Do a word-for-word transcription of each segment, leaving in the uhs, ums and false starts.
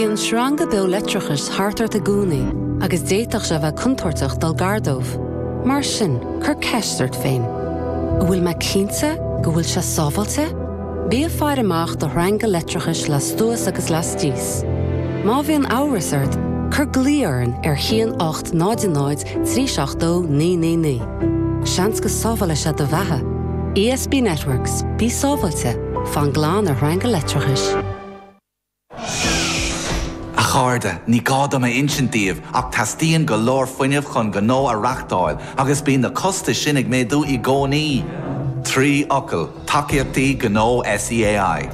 Bíonn sreanga beo leictreachais thart ort i gcónaí agus d'fhéadfadh sé bheith contúirteach dul gar dóibh. Mar sin, cuir ceist ort féin. An bhfuil mé cinnte go bhfuil sé sábháilte? Bí ag faire amach do shreanga leictreachais lastuas agus lastíos. Má bhíonn amhras ort, cuir glao orainn ar haon ocht náid náid trí seacht dó naoi naoi naoi. Seans go sábhálfaidh sé do bheatha. E S B Networks, bí sábháilte, fan glan ar shreanga leictreachais. A chairde, ní gá dom a insint daoibh ach teastaíonn go leor fuinnimh chun gnó a reáchtáil agus bíonn na costais sin ag méadú i gcónaí. Trí fhocal, tacaíochtaí gnó S E A I.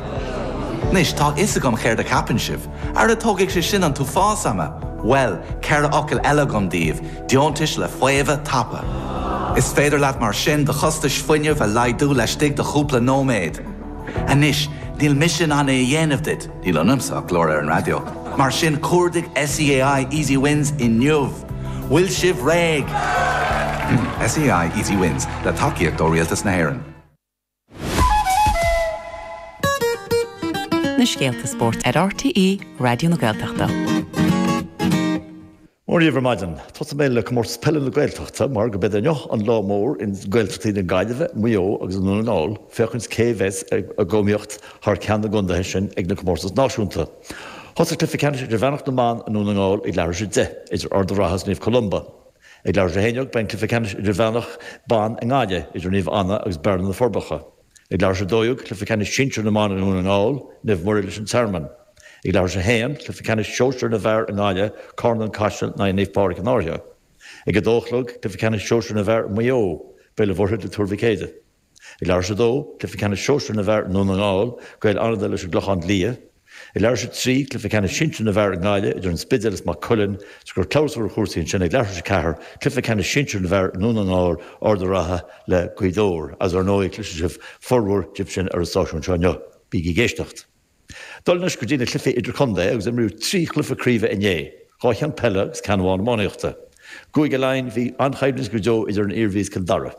Anois tá a fhios agam céard a cheapann sibh, Ara tógfaidh sé sin an t-uafás ama. Well, ceithre fhocal eile agam daoibh, deontais le faomhadh tapa. Is féidir leat mar sin do chostais fuinnimh a laghdú laistigh de chúpla nóiméad. Anois, níl mise in ann é a dhéanamh duit, níl ionamsa ach glór ar an raidió. Mar sin cuardaigh S E A I Easy Wins inniu. Bhfuil sibh réidh. S E A I Easy Wins le tacaíocht ó Rialtas na hÉireann. Na scéalta spóirt ar R T E Raidió na Gaeltachta. Mór ar maidin, Tá mé le comórtas peile na Gaeltachta mar gurb é inniu an lá mór in Gaeltachtaí na Gaillimhe, Maigh Eo agus Dún na nGall, féachaint cé bheas ag iomaíocht thar ceann na gcontaetha sin ag na comórtais náisiúnta. Thosaigh cluiche ceannais idirmheánach na mban i nDún na nGall ag leathuair tar éis a deich idir Ard an Rátha Naomh Columba. Ag leathuair tar éis a haon déag beidh cluiche ceannais idirmheánach ban i nGaillimh idir Naomh Anna agus Bearna na Forbacha. Ag leathuair tar éis a dó dhéag cluiche ceannais sinsir na mban i nDún na nGall, Naomh Muire leis an Tearmann. Ag leathuair tar éis a haon cluiche ceannais sóisir na bhfear i nGaillimh, Carna Caiseal in aghaidh Naomh Pádraig an Fhairche. Ag a dó a chlog cluiche ceannais sóisir na bhfear Maigh Eo, Béal an Mhuirthead le Tuar Mhic Éadaigh. Ag leathuair tar éis a dó cluiche ceannais sóisir na bhfear i nDún na nGall, Gaeil Fhánada leis an gClochán Liath. Ag leathuair tar éis a trí cluiche ceannais sinsir na bhfear i nGaillimh idir an Spidéal is Maigh Cuilinn, gur clabhsúr chúrsaí ansin ag leathuair tar éis a ceathair, cluiche ceannais sinsir na bhfear i nDún na nGall, Ard an Rátha le Gaoth Dobhair, as ar ndóigh cloisfidh sibh formhór díobh sin ar an stáisiún seo inniu. Bígí ag éisteacht. Dul anois go dtí na cluichí idirchontae agus imríodh trí chluiche craoibhe inné, dhá cheann peile agus ceann amháin iománaíochta. I gCúige Laighean bhí an-choimhlint go deo idir an Iarmhí is Cill Dara.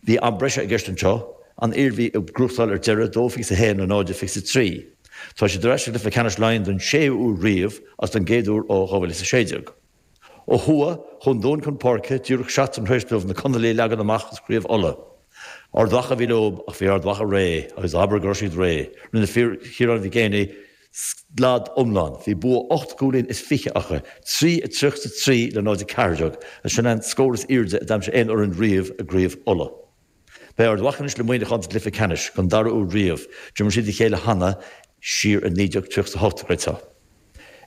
Bhí am breise i gceist anseo, an Iarmhí ag gnóthachtáil ar deireadh dó fiche a haon a náid fiche a trí. Tá siad ar ais i gcluiche ceannais Laighean don séú huair riamh as don gcéad uair ó dhá mhíle is a sé déag. Ó thuaidh chuaigh an Dún chun páirce díreach seachtain tar éis dóibh na Conallaigh a leagan amach as Craobh Uladh. Ard Mhacha bhí leo ach bhí Ard Mhacha réidh agus abair go raibh siad réidh. Rinne fir Chiarán Mhic Éanaigh slad iomlán, bhí bua ocht gcúilín is fiche acu, trí a tríocha a trí le náid a ceathair déag, sin an scór is airde a d'aimsigh aon fhoireann riamh i gCraobh Uladh. Beidh Ard Mhacha anois le Muineachán sa gcluiche ceannais don dara huair riamh, d'imir siad a chéile cheana siar i naoi déag tríocha a hocht go.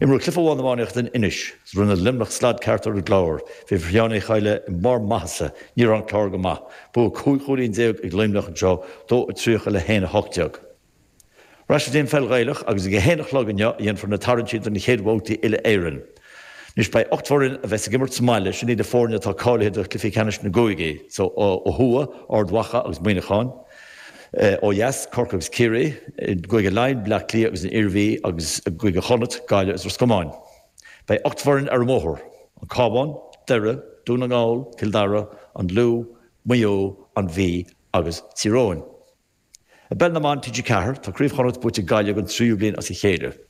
Imríodh cluiche amháin iománaíochta in Inis, rinne Luimneach slad ceart ar an gClár, bhí fir Sheáin Uí Choille i mbarr maitheasa, ní raibh an Clár go maith. Bua cúig chúilín déag ag Luimneach anseo dó a tríocha le haon a hocht déag. Ar ais go dtí an pheil Ghaelach agus ag a haon a chlog inniu a dhéanfar na tarraingtí don chéad bhabhtaí uile Éireann. Anois beidh ocht bhfoireann a bheas ag imirt sa mbaile sin iad na foirne atá cáilithe do chluichí ceannais na gcúigí, so ó thuaidh, Ard Mhacha agus Muineachán, ó dheas, Corcaigh agus Ciarraí, i gCúige Laighean, Bleá Cliath agus an Iarmhí agus i gCúige Chonnacht, Gaillimh agus Ros Comáin. Beidh ocht bhfoireann ar an mbóthar, an Cabhán, Doire, Dún na nGall, Cill Dara, an Lú, Maigh Eo, an Mhí agus Tír Eoghain. I bpeil na mban T G ceathair tá Craobh Chonnacht buaite ag Gaillimh don tríú bliain as a chéile.